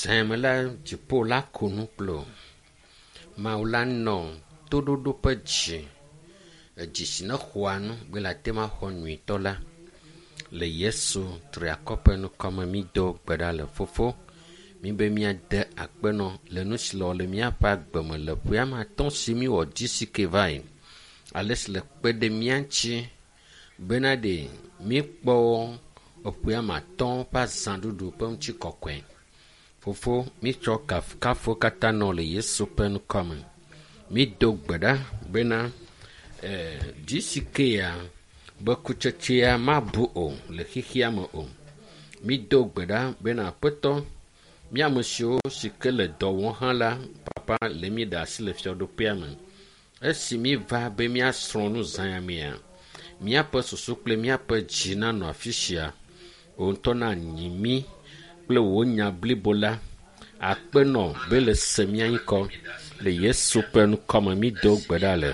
Zã me la dziƒo la ko nu kple wò. Mawu la nɔ toɖoɖo ƒe dzi. Edzi si nexɔa nu be le ate ŋu axɔ nyuitɔ la. Le Yesu triakɔ ƒe ŋkɔme mído gbe ɖa le fofo. Míbe míade akpe nɔ le nu si le wɔ le míaƒe agbe me le ƒe ame atɔ̃ si míwɔ GCK va yi. Ale si le kpe ɖe mía ŋuti bena ɖe míekpɔ eƒe ame atɔ̃ ƒe azãɖuɖu ƒe ŋutikɔkɔe. Fofo, mítsɔ kafukafu katã nɔ le Yesu ƒe ŋkɔme. Mído gbe ɖa bena eh, GCK ya be kutsetsea mabu o le xexea me o. Mído gbe ɖa bena Aƒetɔ, mía ame siwo si ke le dɔ wɔm hã la, papa le mí ɖe asi le fiaɖuƒea me. Esi míva be míasrɔ̃ nu zã ya mea, míaƒe susu kple míaƒe dzi nanɔ afi sia. Wò ŋutɔ nanyi mí kple wò nya blibo la. Akpe nɔ be le se mía ŋkɔ. Le Yesu ƒe ŋkɔme mído gbe ɖa le.